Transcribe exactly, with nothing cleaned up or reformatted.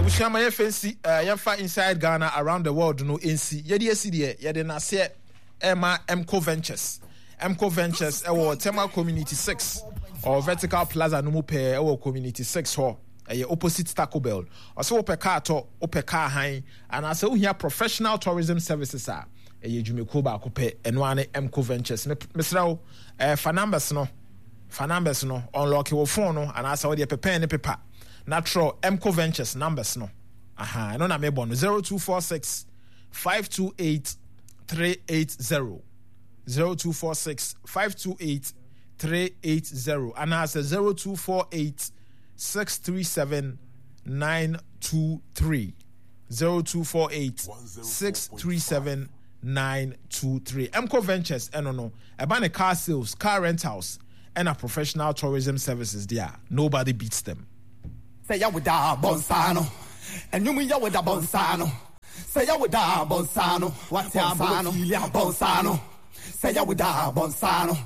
Abusua, ma yɛmfa nsi, uh, yɛmfa Inside Ghana Around the World no nsi. Yɛde asi deɛ, yɛde n'aseɛ ɛma Mco Ventures. Mco Ventures ɛwɔ Tema Community six or Vertical Plaza no mu pɛɛ, ɛwɔ Community six hɔ, ɛyɛ opposite Taco Bell. Ɔsɛ wopɛ car tɔ, wopɛ car han, anaasɛ wohia professional tourism services a, ɛyɛ dwumakuo baako pɛ, ɛno ara ne Mco Ventures. Mesrɛ wo, ɛɛ fa numbers no, fa numbers no, unlock wo phone no anaasɛ wode pɛ pen ne paper na twerɛ Mco Ventures numbers no. Aha, ɛno na mebɔ no: zero two four six five two eight three eight zero, zero two four six five two eight three eight zero, anaasɛ zero two four eight six three seven nine two three, zero two four eight six three seven nine two three. Mco Ventures, ɛno no, ɛba ne car sales, car rentals, ɛna professional tourism services there, nobody beats them. Sɛ yɛwoda bɔnsa no, ɛnwom yɛwoda bɔnsa no, sɛ yɛwoda bɔnsa no, wate abɔnsa no, bɔnsa no, sɛ yɛwoda bɔnsa no.